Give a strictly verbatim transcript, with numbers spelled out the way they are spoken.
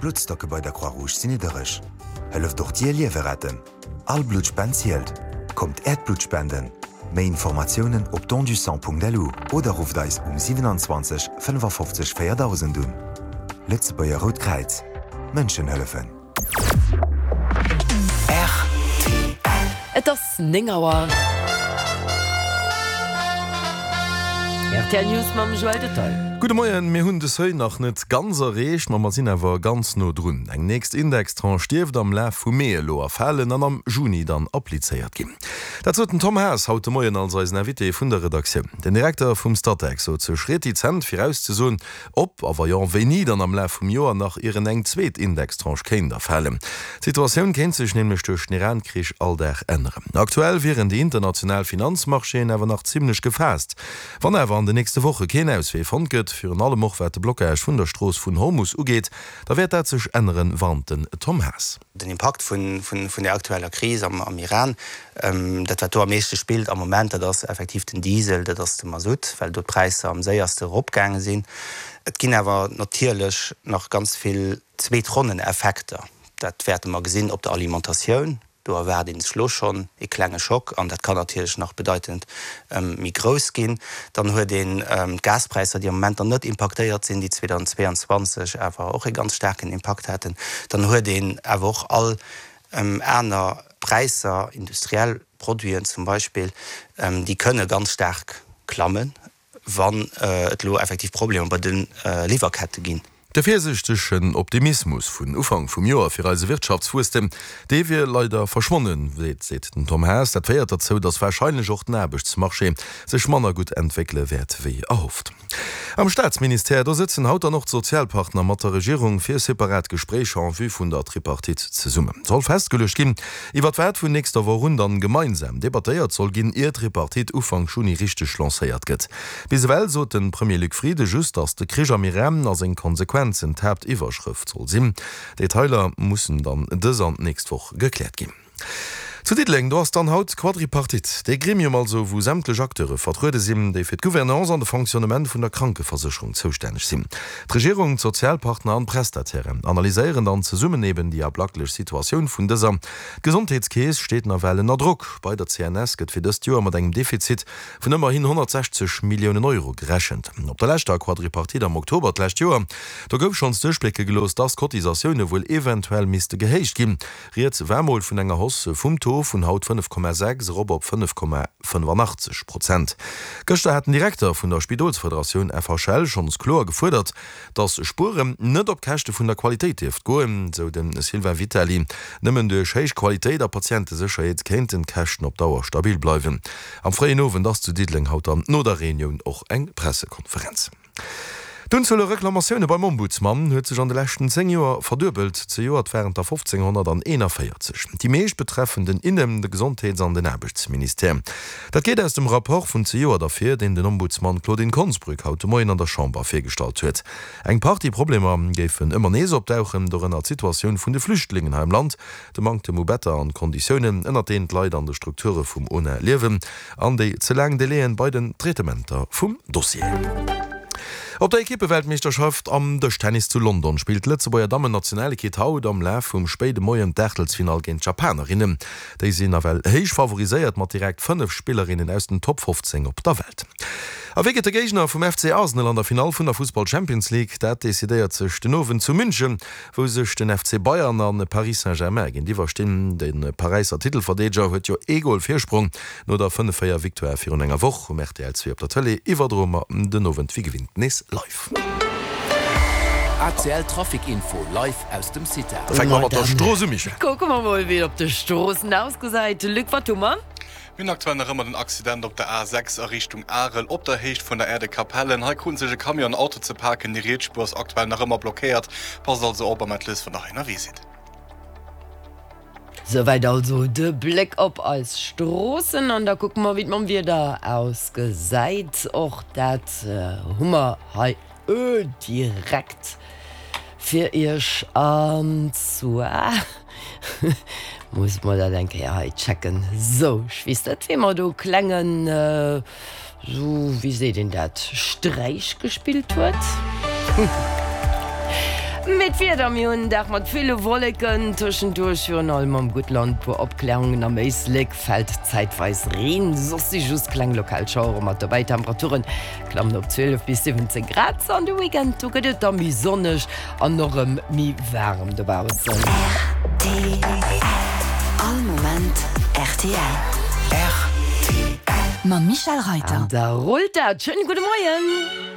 D'Bluttstocke bei der Croix-Rouge sinn niddereg. Hëlleft och Dir Liewe retten. All Bluttspend zielt. Kommt Äert Blutt spenden. Méi Informatiounen op dondusang.lu oder rufft eis um siewenundzwanzeg fënnefafofzeg véierdausend un. Lëtzebuerger Rout Kräiz, Mënschen hëllefen. Rtl. Et ass néng Auer. Rtl News mam Joël Detaille. Gudde Moien, mir hunn de Seuil nach net ganz erreecht, ma mer sinn awer ganz no drun. Eng nächst Indextranche dierft am Laf vum Mee elo erfalen an am Juni dann applizéiert ginn. Dat sot den Tom Haas haut de Moien als eisen Invité vun der Redaktioun. Den Direkter vum Statec sot sech retizent virauszesoen, ob a wa jo, wéini dann am Laf vum Joer nach ieren eng zweet Indextranche kéint erfalen. D'Situatioun kéint sech nämlech duerch den Iran-Krich all Dag änneren. Aktuell wieren déi international Finanzmarchéen awer nach zimmlech gefaasst. Wann awer an den nächste Woche keen Auswee fonnt gëtt, virun allem och wat de Blockage vun der Strooss vun Hormus ugeet, da wäert dat sech änneren, warnt den Tom Haas. Den Impakt vun der aktueller Kris am Iran, dat wat do am meeschte spillt am Moment, dat ass effektiv den Diesel, dat ass de Masutt, well do d'Präisser am séierste eropgaange sinn. Et ginn awer natierlech nach ganz vill Zweetronneneffekter. Dat wäerte mer gesinn op der Alimentatioun. Do erwaart ee sech elo schonn ee klenge Schock an dat kann natierlech nach bedeitend méi grouss ginn. Dann huet een d'Gaspräisser, déi am Moment nach net impaktéiert sinn, déi zweedausendzweeanzwanzeg awer och ee ganz staarken Impakt haten. Dann huet een awer och all aner Präisser, industriell Produiten zum Beispill, déi kënne ganz staark klammen, wann et elo effektiv Problemer bei de Liwwerkette ginn. De virsiichtegen Optimismus vun Ufank vum Joer fir eise Wirtschaftswuesstem, dee wier leider verschwonnen, seet den Tom Haas. Dat féiert derzou, datt warscheinlech och den Aarbechtsmarché sech manner gutt entwéckele wäert wéi erhofft. Am Staatsministère, do sëtzen haut dann och d'Sozialpartner mat der Regierung fir separat Gespréicher en vue vun der Tripartite zesummen. Soll festgeluecht ginn, iwwert wat vun nächster Woch un dann gemeinsam debattéiert soll ginn, ier d'Tripartite Ufank Juni richteg lancéiert gëtt. Bis ewell sot de Premier Luc Frieden just, datt de Krich am Iran a seng Konsequenzen d'Haaptiwwerschrëft soll sinn. Detailer mussen dann dës an d'nächst Woch gekläert ginn. Zu Diddeleng, do ass dann haut d'Quadripartite, dee Gremium also, wou sämtlech Acteure vertruede sinn, déi fir d'Gouvernance an de Fonctionnement vun der Krankeversécherung zoustänneg sinn. D'Regierung, d'Sozialpartner an d'Prestatairen analyséieren dann zesummen eben déi ablacklech Situatioun vun dëser. D'Gesondheetskeess steet nawell ënner Drock. Bei der C N S gëtt fir dëst Joer mat engem Defizit vun ëmmerhin honnertsechzeg Milliounen Euro gerechent. Op der leschter Quadripartite am Oktober d'lescht Joer, do gouf schonns duerchblécke gelooss, dass d'Cotisatioune wuel eventuell misste gehéicht ginn. Rieds war mol vun enger Hausse vum Taux vun haut fënnef Komma sechs erop op fënnef Komma fënnefannachtzeg Prozent. Gëschter hat den Direkter vun der Spidolsfederatioun F H L schonns kloer gefuerdert, dass Spueren net op Käschte vun der Qualitéit dierft goen, sou de Sylvain Vitali. Nëmmen duerch héich Qualitéit a Patientesécherheet kéinten d'Käschten op Dauer stabil bleiwen. Am fréien Owend ass zu Diddeleng haut dann no der Reunioun och eng Pressekonferenz. D'Unzuel u Reklamatioune beim Ombudsman huet sech an de leschten zéng Joer verduebelt, zejoert waren et der fofzénghonnertaennervéierzeg. Déi meescht betreffen den Inne-, de Gesondheets an den Aarbechtsministère. Dat geet aus dem Rapport vun zejoert ervir, deen den Ombudsman Claudine Konsbrück haut de Moien an der Chamber virgestallt huet. Eng Partie Problemer géifen ëmmer nees opdauchen, dorënner d'Situatioun vun de Flüchtlingen hei am Land, de Manktem u Better an d'Konditiounen, ënnert deenen d'Leit an de Strukture vum O N A liewen, an déi ze laang Delaien bei den Traitementer vum Dossier. Op der Ekippeweltmeeschterschaft am Dëschtennis zu London spillt d'Lëtzebuerger Dammen-Nationalekipp haut am Laf vum spéide Moien d'Aachtelsfinall géint d'Japanerinnen. Déi sinn nawell héich favoriséiert mat direkt fënnef Spillerinnen aus den Top fofzéng op der Welt. A wie gëtt de Géigner vum F C Arsenal an der Finall vun der Fussball Champions League? Dat decidéiert sech den Owend zu München, wou sech den F C Bayern a Paris Saint-Germain géintiwwer stinn. De Paräisser Titelverdeedeger huet jo ee Gol Virsprong no der fënnef véier Victoire virun enger Woch. Um R T L zwee op der Tëlee iwwerdroe mer den Owend wéi gewinnt nees live. R T L Trafic Info live aus dem CITA. Da fänke mer mat der Strooss u, Michèle. Kucke mer mol, wéi et op de Stroossen ausgesäit. Luc, wat hu mer? Mir hunn aktuell nach ëmmer den Accident op der A sechs a Richtung Arel op der Héicht vun der Aire de Capellen. Hei kruten sech e Camion an Auto ze paken. Déi riets Spuer ass aktuell nach ëmmer blockéiert. Passt also op am Atlas, wann der hei ënnerwee sidd. Souwäit also de Bléck op eis Stroossen an da kucke mer, wéi et mam Wieder ausgesäit. Och dat hu mer hei direkt fir iech an zwar muss mer dat eng Kéier hei checken. Sou, ech weess net, wee mer do klengen, sou, wéi seet een dat, Sträich gespillt huet. Mee d'Wieder, Mir hunn en Dag mat ville Wolleken, tëschenduerch virun allem am Guttland puer Opklärungen, am Éislek fält zäitweis Reen, soss si just kleng lokal Schauere mat dobäi. D'Temperature klammen op zwielef bis siwwenzéng Grad. An de Weekend, do gëtt et da méi sonneg an och erëm méi waarem dobaussen. Rtl, All Moment rtl. Rtl. Mam Michel Reiter. An da rullt dat. Schéine gudde Moien.